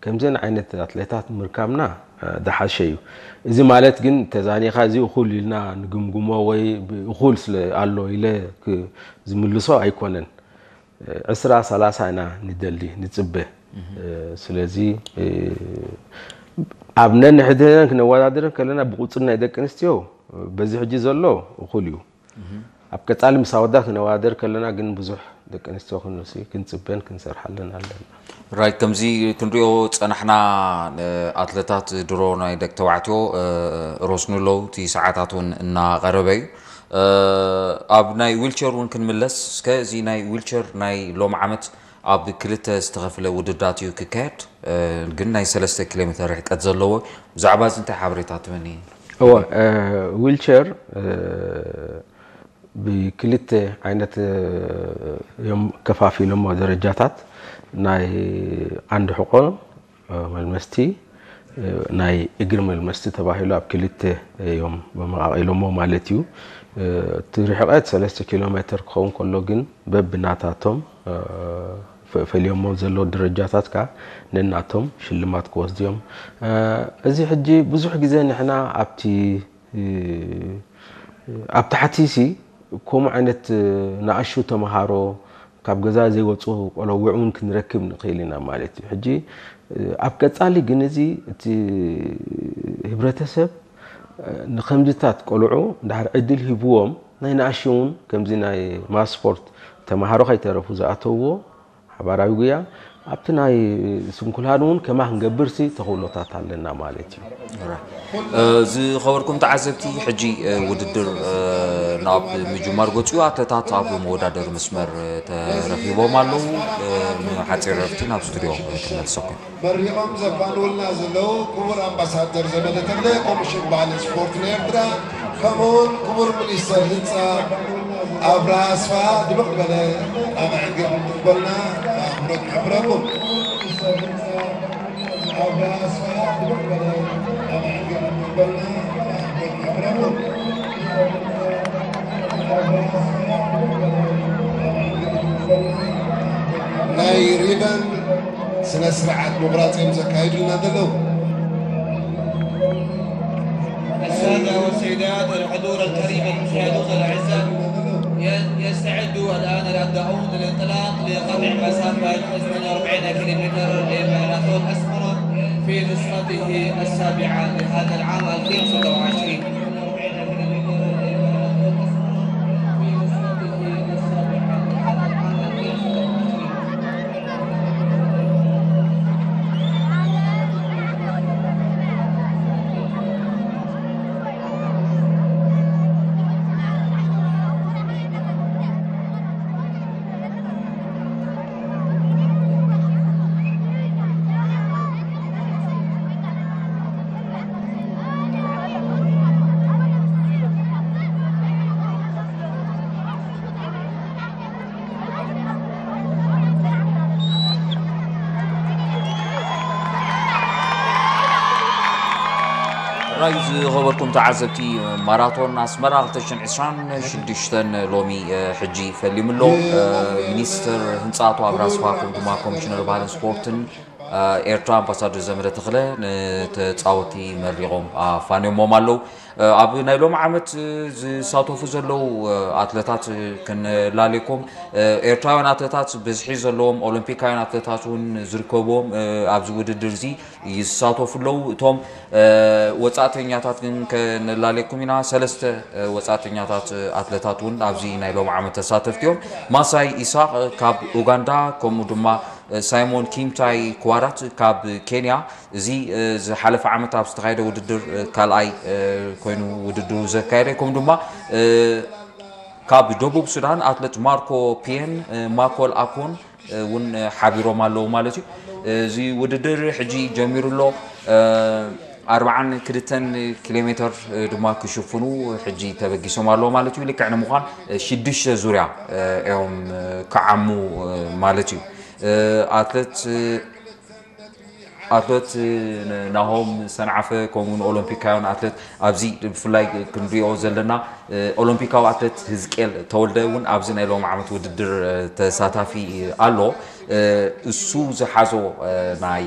ከምዘን ዓይነት ኣትሌታት ምርካብና ዝሓሸ እዩ። እዚ ማለት ግን ተዛኒኻ እዚ እኹል ኢልና ንግምግሞ ወይ እኹል ስለ ኣሎ ኢለ ዝምልሶ ኣይኮነን። ዕስራ ሰላሳ ኢና ንደሊ ንፅበ። ስለዚ ኣብ ነንሕድሕደን ክነወዳድረን ከለና ብቁፅሪ ናይ ደቂ ኣንስትዮ በዚ ሕጂ ዘሎ እኹል እዩ። ኣብ ቀፃሊ ምስ ኣወዳት ክነወዳደር ከለና ግን ብዙሕ ደቂ ኣንስትዮ ክንሲ ክንፅበን ክንሰርሓለን ኣለና። ራይት። ከምዚ ክንሪኦ ፀናሕና፣ ኣትለታት ድሮ ናይ ደቂ ተባዕትዮ ሮስኑ ኣለዉ። እቲ ሰዓታት እውን እናቐረበ እዩ። ኣብ ናይ ዊልቸር እውን ክንምለስ እስከ። እዚ ናይ ዊልቸር ናይ ሎም ዓመት ኣብ ክልተ ዝተኸፍለ ውድዳት እዩ ክካየድ፣ ግን ናይ ሰለስተ ኪሎ ሜትር ርሕቀት ዘለዎ። ብዛዕባ እዚ እንታይ ሓበሬታ ትበኒ? እወ፣ ዊልቸር ብክልተ ዓይነት እዮም ከፋፊሎሞ ደረጃታት። ናይ ዓንዲ ሕቆ መልመስቲ፣ ናይ እግሪ መልመስቲ ተባሂሉ ኣብ ክልተ እዮም መቃቂሎሞ ማለት እዩ። እቲ ርሕቀት ሰለስተ ኪሎ ሜትር ክኸውን ከሎ ግን በብናታቶም ፈ- ፈልዮሞ ዘለዉ ደረጃታት ከ ነናቶም ሽልማት ክወስዱ እዮም። እዚ ሕጂ ብዙሕ ግዜ ንሕና ኣብቲ ኣብ ታሕቲ ሲ ከምኡ ዓይነት ንኣሹ ተምሃሮ ካብ ገዛ ዘይወፁ ቆለውዕ እውን ክንረክብ ንኽእል ኢና ማለት እዩ። ሕጂ ኣብ ቀፃሊ ግን እዚ እቲ ህብረተሰብ ንከምዚታት ቆልዑ እንድሕር ዕድል ሂብዎም ናይ ንኣሹ እውን ከምዚ ናይ ማስ ስፖርት ተምሃሮ ከይተረፉ ዝኣተውዎ ሓባራዊ ጉያ ኣብቲ ናይ ስንኩላን እውን ከማ ክንገብርሲ ተኽእሎታት ኣለና ማለት እዩ። ዝኸበርኩም ተዓዘብቲ፣ ሕጂ ውድድር ናብ ምጅማር ገፁ ኣትለታት ኣብ መወዳደሪ መስመር ተረኺቦም ኣለዉ። ንሓፂር ረፍቲ ናብ ስቱድዮ ክመልሰኩም። መሪቖም ዘፋንውልና ዘለዉ ክቡር ኣምባሳደር ዘመደ ተኽለ፣ ኮሚሽን ባህልን ስፖርትን ኤርትራ፣ ከምኡውን ክቡር ሚኒስተር ህንፃ ኣብርሃ ኣስፍሃ ድምቕ ዝበለ ኣባዕግብ ክትበልና ብኣኽብሮት ንሕብረኩም። ናይ ሪበን ስነ ስርዓት ምቑራፅ እዮም ዘካይዱልና ዘለዉ። السادة والسيدات، الحضور الكريم، المشاهدون الأعزاء، ي- يستعد الآن الأبدعون للانطلاق لقطع مسافة اثنين وأربعين كيلومتر لماراثون أسمرة في نسخته السابعة لهذا العام ألفين وستة وعشرين. ራይ ዝኸበርኩም ተዓዘብቲ፣ ማራቶን ኣስመራ ክልተ ሽሕን ዕስራን ሽዱሽተን ሎሚ ሕጂ ፈሊሙ ኣሎ። ሚኒስትር ህንፃ ኣቶ ኣብርሃ ኣስፍሃ ከምኡ ድማ ኮሚሽነር ባህልን ስፖርትን ኤርትራ ኣምባሳደር ዘመደ ተኽለ ንተፃወቲ መሪቖም ኣፋንዮሞም ኣለዉ። ኣብ ናይ ሎም ዓመት ዝሳተፉ ዘለዉ ኣትለታት ክንላለየኩም። ኤርትራውያን ኣትለታት ብዝሒ ዘለዎም ኦሎምፒካውያን ኣትለታት እውን ዝርከብዎም ኣብዚ ውድድር እዚ ይሳተፉ ኣለዉ። እቶም ወፃእተኛታት ግን ከነላለየኩም ኢና። ሰለስተ ወፃእተኛታት ኣትለታት እውን ኣብዚ ናይ ሎም ዓመት ተሳተፍቲ እዮም። ማሳይ ኢሳቅ ካብ ኡጋንዳ፣ ከምኡ ድማ ሳይሞን ኪምታይ ክዋራት ካብ ኬንያ። እዚ ዝሓለፈ ዓመት ኣብ ዝተኻየደ ውድድር ካልኣይ ኮይኑ ውድድሩ ዘካየደ፣ ከምኡ ድማ ካብ ደቡብ ሱዳን ኣትለት ማርኮ ፒየን፣ ማኮል ኣኮን እውን ሓቢሮም ኣለዉ ማለት እዩ። እዚ ውድድር ሕጂ ጀሚሩ ኣሎ። ኣርብዓን ክልተን ኪሎ ሜትር ድማ ክሽፍኑ ሕጂ ተበጊሶም ኣለዉ ማለት እዩ። ልክዕ ንምዃን ሽዱሽተ ዙርያ እዮም ክዓሙ ማለት እዩ። ኣትለት ኣትለት ናሆም ሰንዓፈ ከምኡ ንኦሎምፒካውያን ኣትለት ኣብዚ ብፍላይ ክንሪኦ ዘለና ኦሎምፒካዊ ኣትለት ህዝቅኤል ተወልደ እውን ኣብዚ ናይ ሎም ዓመት ውድድር ተሳታፊ ኣሎ። እሱ ዝሓዞ ናይ